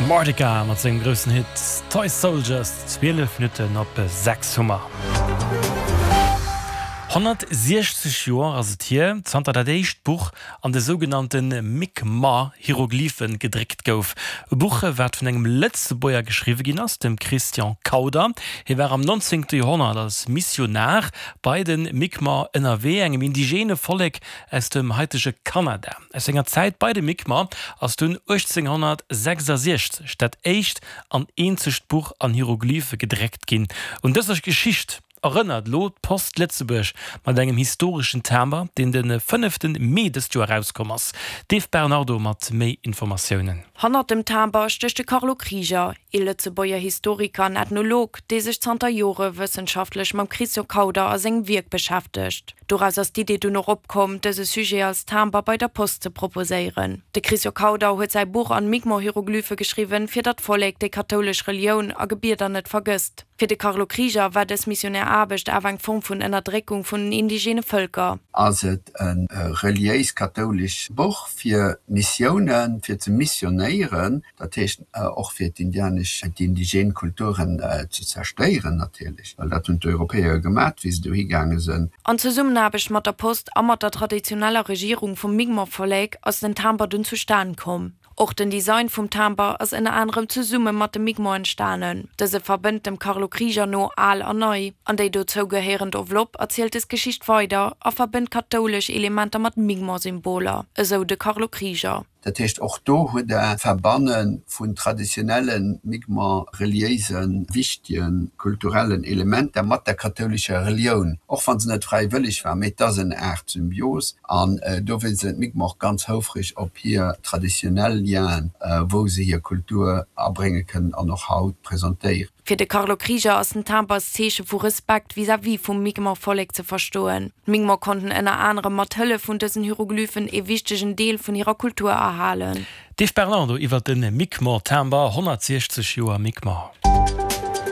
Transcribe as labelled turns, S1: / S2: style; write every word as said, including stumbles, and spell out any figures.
S1: Martika mat sengem groussen Hit Toy Soldiers, zwielef Minutten op sechs hu mer. Honnertsiechzeg Joer ass et hier, zanter dat éischt Buch an de sougenannte Mi'kmaq-Hieroglyphen gedréckt gouf. E Buch, wat vun engem Lëtzebuerger geschriwwe ginn ass, dem Christian Kauder. Hie war am nonzéngte Joerhonnert als Missionar bei de Mi'kmaq ënnerwee, engem indigene Vollek aus dem haitege Kanada. Aus senger Zäit bei de Mi'kmaq ass dunn uechtzénghonnertsechsasiechzeg dat éischt an eenzegt Buch an Hieroglyphe gedréckt ginn. Un dëser Geschicht erënnert elo d'Post Lëtzebuerg mat engem historeschen Timber, deen de fënnefte Mee dëst Joer erauskomm ass. D'Eve Bernardo mat méi Informatiounen.
S2: Hannert dem Timber stécht de Carlo Krieger, ee Lëtzebuerger Historiker an Ethnolog, dee sech zanter Jore wëssenschaftlech mam Christian Kauder a sengem Wierk beschäftegt. Doraus ass d'Idee dunn och opkomm, dëse Sujet als Timber bei der Post ze proposéieren. De Christian Kauder huet säi Buch an Mi'kmaq-Hieroglyphe geschriwwen, fir datt d'Vollek déi kathoulesch Relioun a Gebieder net vergësst. Fir de Carlo Krieger war dës Missionär-Aarbecht awer eng Form vun Ënnerdréckung vun den indigene Vëlker.
S3: Ass et e reliéis kathoulesch Buch fir Missiounen, fir ze missionéieren, dat heescht och fir d'indianesch, d'indigen Kulturen ze zerstéieren natierlech, well dat hunn d'Europäer gemat, wéi se dohi gaange sënn.
S2: An Zesummenaarbecht mat der Post a mat der traditioneller Regierung vum Mi'kmaq-Vollek ass den Timber dunn zustan komm. Och den Design vum Timber ass ënner anerem zesumme mat de Mi'kmaq entstanen. Dëse verbënnt dem Carlo Krieger no al an nei. An déi dozou gehéierend Enveloppe erzielt des Geschicht weider a verbënnt kathoulesch Elementer mat Mi'kmaq-Symboler, esou de Carlo Krieger.
S3: Dat heescht, och do hutt Der Verbanne vun traditionelle Mi'kmaq reliéisen, wichtege kulturellen Elementer mat der kathoulescher Relioun, och wa se net fräiwëlleg war, mee et ass en Aart Symbios. An dowéinst sinn d'Mi'kmaq och ganz houfreg op hir traditionell Lienen, wou se hir Kultur abrénge kënnen an och haut presentéieren.
S2: Fir de Carlo Krieger ass den Timber als Zeeche vu Respekt vis-à-vis vum Mi'kmaq-Vollek ze verstoen. D'Mi'kmaq konnten ënner anerem mat Hëllef vun dësen Hieroglyphen ee wichtegen Deel vun hirer Kultur erhalen.
S1: D'Eve Bernardo iwwer de Mi'kmaq-Timber, honnertsiechzeg Joer Mi'kmaq.